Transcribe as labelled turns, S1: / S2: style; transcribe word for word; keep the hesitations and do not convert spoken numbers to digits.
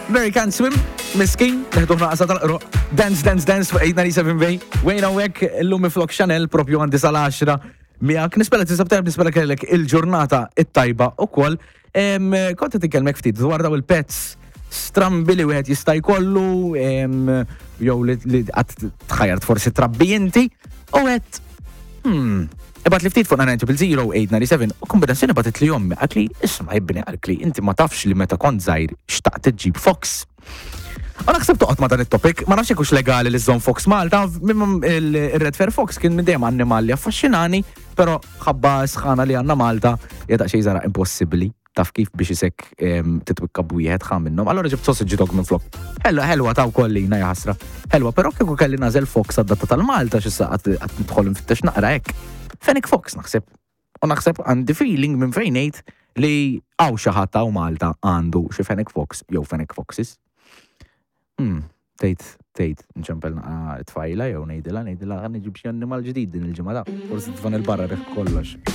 S1: Mary Can't Swim, miskin, neħduh naqsa tal-qroq. Dance, dance, dance fuq eight ninety-seven Bay. Wejna wek, illum flok Chanel propju għandi sal-għaxra. Miegħek, nispera tinsab tajb, nispera kellek il-ġurnata it-tajba u koll. Kont qed inkellmek ftit dwar daw il-pets strambi li wieħed jista' jkollu, em, jew li li qatt tħajjart forsi trabbi inti, u għedt, hmm, ibgħat li ftit fuq nine zero eight nine seven u kombinazzjoni bagħtet li ommi, qaltli, "Isma' ibni," qaltli, "inti ma tafx li meta kont żgħir xtaqt iġġib fox." U naħseb toqgħod ma dan it-topic, ma nafx hux legali li żżomm fox Malta, mimma il-Red Fur Fox kien minn dejjem annimal li affaxxinani, però ħabba sħana li għandna Malta hija daqsxejn żara impossibbli, taf kif, biex isek em, titwikka b'wieħed ħa minnhom. Allora ġibt sausage dog minn flok. Ħelwa, ħelwa ta' kollina jaħasra. Ħelwa, però kieku kelli nagħżel fox għad-data tal-Malta x'issa qatt qatt nidħol nfittex naqra hekk. Fennec Fox naħseb. U naħseb għandi feeling minn fejn ngħid li hawn xi ħadd hawn Malta għandu xi Fennec Fox jew Fennec Foxes. Hmm, tgħid, tgħid, nċempel naqra tfajla jew ngħidilha, ngħidilha ħa nġib xi annimal ġdid din il-ġimgħa da. Forsi tfan il-barra riħ kollox.